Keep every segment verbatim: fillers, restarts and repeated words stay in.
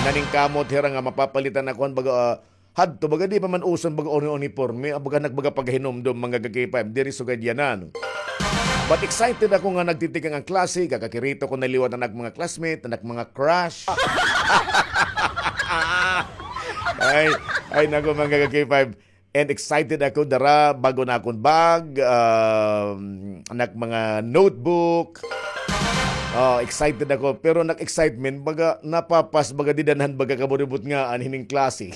Naningkamot hira nga mapapalitan ako han baga, ah, hadto, baga di pa man uson baga uni-, uniporme, ah, baga nagbaga paghinumdom, mga ka-K five, diri sugad yana, no? But excited ako nga nagtitikang an klase, kakakirito ko na liwat an ak mga classmate, an ak mga crush. Ay, ay, naku, mga ka-K five. And excited ako, dara, bag-o na akon bag, um, an ak mga notebook. Oh, excited ako. Pero an ak excitement, baga napapas, baga dida na han baga kaburibot nga an hining klase.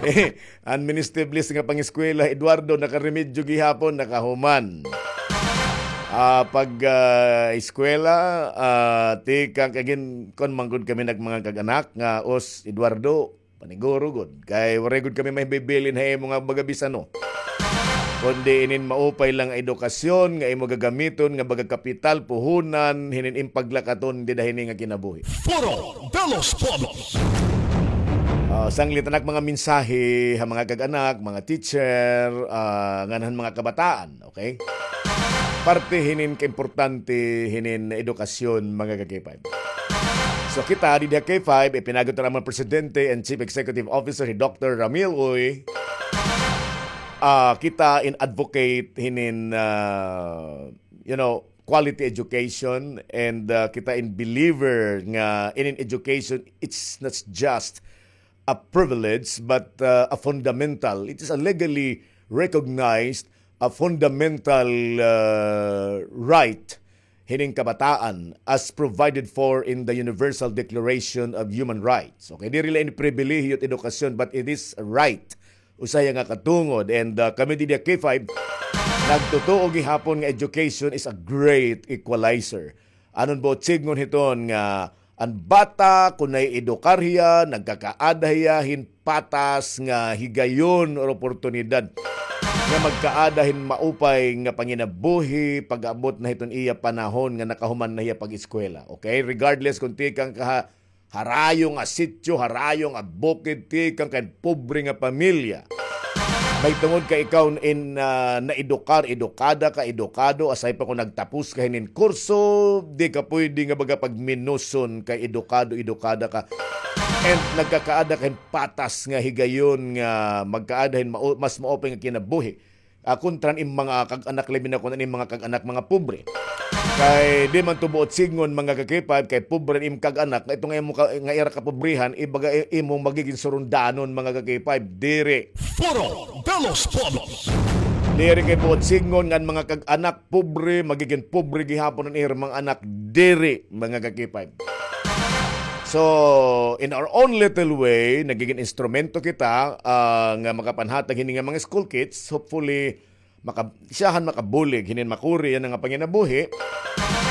Eh, an Minister Bliss nga pangeskwela, Eduardo, nakaremedyo gihapon, nakahuman. Ah, pag, ah, eskwela, ah, tikang kagin, kon man gud kami nag mga kag-anak nga, os, Eduardo, paniguro gud. Kay waray gud kami mahibibilin ha imo nga baga bisan, no? Kundi inin maupay lang nga edukasyon nga imo gagamiton nga baga kapital, puhunan, hinin im paglakaton dida hini nga kinabuhi. Foro de los Pueblos. Ah, sanglit an ak mga mensahe ha mga kag-anak, mga teacher, ah, ngan han mga kabataan, okay? Parte hinin kaimportante hinin edukasyon, mga ka-K five. So kita, didi ha K five, ipinagot na an amon presidente and chief executive officer, hi Doctor Ramil Uy. Ah, kita in advocate hinin, ah, you know, quality education, and, uh, kita in believer nga inin education, it's not just a privilege, but, uh, a fundamental. It is a legally recognized, a fundamental, uh, right hining kabataan as provided for in the Universal Declaration of Human Rights. Okay, diri la ini pribilehiyo it edukasyon, but it is a right, usa hiya nga katungod. And, uh, kami didi ha K five, nagtutuo gihapon nga education is a great equalizer. Anon buot sidngon hiton nga an bata, kon na-edukar hiya, nagkakaada hiya hin patas nga higayon or oportunidad nga magkaada hin maupay nga panginabuhi pag-abot na hiton iya panahon nga nakahuman na hiya pag-eskwela. Okay? Regardless kon tikang ka ha harayo nga sityo, harayo nga bukid, tikang kan pobre nga pamilya. Mahitungod ka ikaw in, ah, naedukar, edukada ka, edukado, asay pa kon nagtapos ka hinin kurso, di ka pwede nga baga pagminuson kay edukado, edukada ka. And nagkakaada ka hin patas nga higayon nga magkaada hin mao-, mas maupay nga kinabuhi. Ah, kontra an im mga kag-anak, labi na kon an im mga kag-anak, mga pobre. Kay di man to buot sidngon, mga ka-K five, kay pobre an im kag-anak, nga ito nga imo ka, nga ira kapobrehan, ibaga i-, imo magigin surundanon, mga ka-K five, diri. Foro de los Pueblos. Diri kay buot sidngon nga an mga kag-anak pobre, magigin pobre gihapon an ira mga anak, diri, mga ka-K five. So, in our own little way, nagigin instrumento kita, ah, nga makapanhatag hini nga mga school kits. Hopefully, maka-, siyahan makabulig hinin makuri yana nga panginabuhi.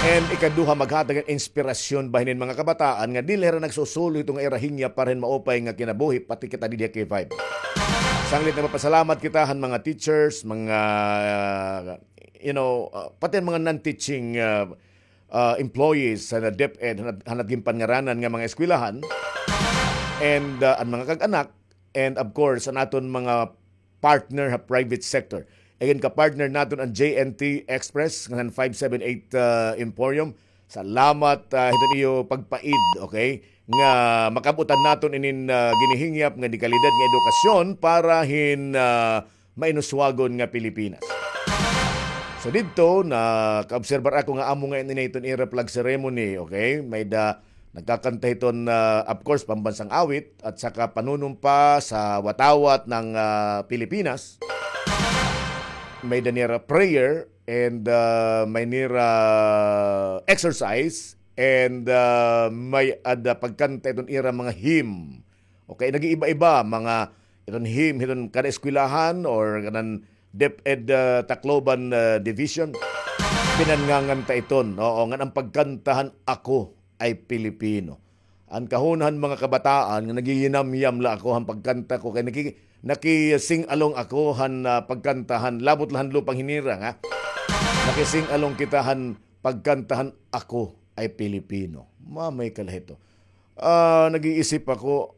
And ikaduha, maghatag hin inspirasyon ba hinin mga kabataan nga dili hira nagsusulo hito nga ira hingyap para hin maupay nga kinabuhi, pati kita didi ha K five. Sanglit nagpapasalamat kita han mga teachers, mga, you know, ah, pati an mga non-teaching, ah, ah, employees han DepEd, han, han ginpanngaranan nga mga eskwelahan, and, ah, an mga kag-anak, and of course, an aton mga partner ha private sector. Again, ka-partner naton an J N T Express, ngan five seven eight, ah, Emporium. Salamat, ah, hiton iyo pagpaid, okay? Nga makab-utan naton inin, ah, ginihingyap nga dekalidad nga edukasyon para hin, ah, mainuswagon nga Pilipinas. So didto, nakaobserbar ako nga amo ngay-an ini hiton ira flag ceremony, okay? May-ada nagkakanta hiton, ah, of course, pambansang awit at saka panunumpa sa watawat ng, ah, Pilipinas. May-ada nira prayer and, ah, may nira exercise and, ah, may-ada pagkanta hiton ira mga hymn. Okay, nag-iiba-iba, mga iton hymn, hiton kada eskwelahan or kanan DepEd, ah, Tacloban, ah, Division, pinanganganta iton. Oo, ngan an pagkanta han Ako Ay Pilipino. An kahuna han mga kabataan nga nagiyinamyam la ako han pagkanta ko, kay naki-, naki-sing-along ako han, ah, pagkanta han, labot la han Lupang Hinirang, ha? Naki-sing-along kita han pagkanta han Ako Ay Pilipino. Mamay ka la hito. Ah, nag-iisip ako,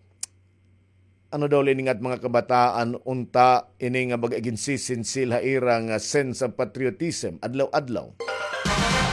ano daw la ini nga mga kabataan, unta ini nga baga iginsisinsil ha ira nga sense of patriotism, adlaw-adlaw.